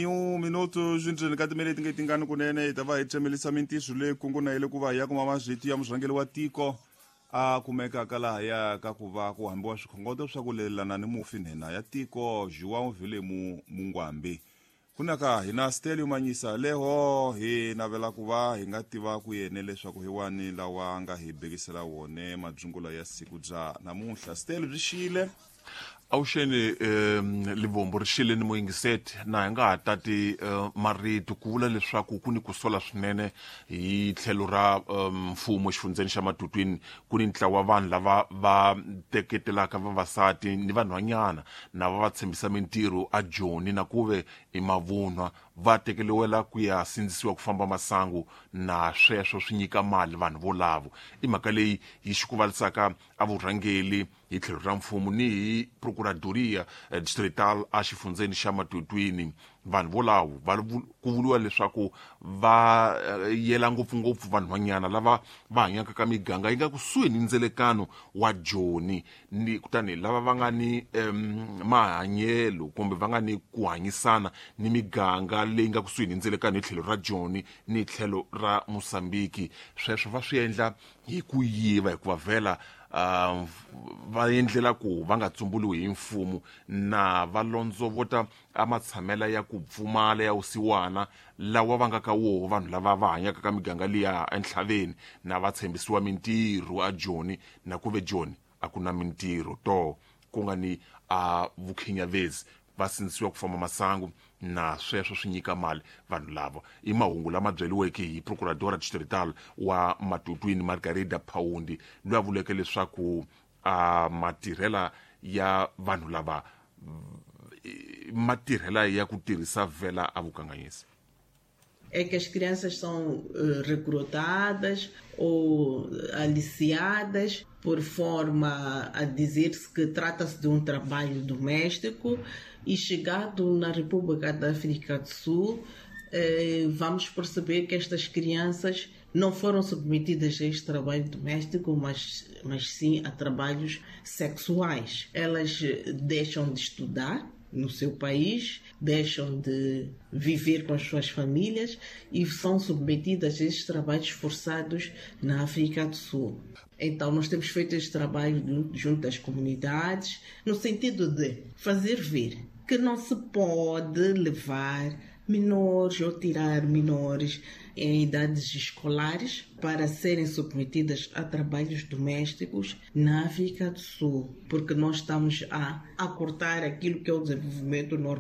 1 minuto swindzeni ka timinete nge tingani kunene hi ta va hi tsemelisa mintiso leyi kunguna yele ku va hi ya kuma mazwiti ya murhangeri wa tiko a kumekaka lahaya ka ku va ku hambiwa swikhongoto swa ku lelana ni mufi nhenha ya tiko João Vilemu Mungwambi. Kunaka hina Stelio Manyisa leho hi navela ku va hi nga tiva ku yene leswaku hi wani lawa nga hi bekisela wone madzungula ya siku bya namuntlha. Stelio byi xile. Avuxeni Livombo ri xile ni muyingiseti na hi nga ha tati marito ku vula leswaku ku ni ku sola swinene hi tlhelo ra mfumo exifundzeni xa Matutwini. Ku ni ntlawa vanhu lava va teketelaka vavasati ni vanhwanyana na va va tshembisa mintirho a Joni na ku ve i mavunwa, va tekeliwela ku ya sindzisiwa ku famba masangu na sweswo swi nyika mali vanhu volavo. I mhaka leyi yi xikuvalisaka a vurhangeli hi tlhelo ra mfumo ni hi procuradoria distrital a xifundzeni xa Matutwini. Vanhu volavo va ku vuriwa leswaku va yela ngopfungopfu vanhwanyana lava va hanyaka ka miganga yi nga kusuhi ni ndzelekano wa Joni, ni kutani lava va nga ni mahanyelo kumbe va nga ni ku hanyisana ni miganga leyi nga kusuhi ni ndzelekano hi tlhelo ra Joni ni tlhelo ra Mosambiki. Sweswo va swi endla hi ku yiva hikuva vhela va endlela ku va nga tsumbuliwi hi mfumo na va londzovota a matshamela ya ku pfumala ya vusiwana lawa va nga ka woho vanhu lava va hanyaka ka miganga liya entlhaveni na va tshembisiwa mintirho a Joni na ku ve Joni a ku na mintirho to ku nga ni a vukhinyavezi va sindzisiwa ku famba masangu na sweswo swi nyika mali vanhu lava. I mahungu lama byeliweke hi procuradora distrital wa Matutwini Margarida Paundi loyi a vuleke leswaku a matirhela ya vanhu lava matirhela ya ku tirhisa vhela a vukanganyisi. É que as crianças são recrutadas ou aliciadas por forma a dizer-se que trata-se de um trabalho doméstico e chegado na República da África do Sul, vamos perceber que estas crianças não foram submetidas a este trabalho doméstico, mas sim a trabalhos sexuais. Elas deixam de estudar no seu país, deixam de viver com as suas famílias e são submetidas a estes trabalhos forçados na África do Sul. Então, nós temos feito este trabalho junto às comunidades, no sentido de fazer ver que não se pode levar menores ou tirar menores em idades escolares para serem submetidas a trabalhos domésticos na África do Sul, porque nós estamos a cortar aquilo que é o desenvolvimento normal.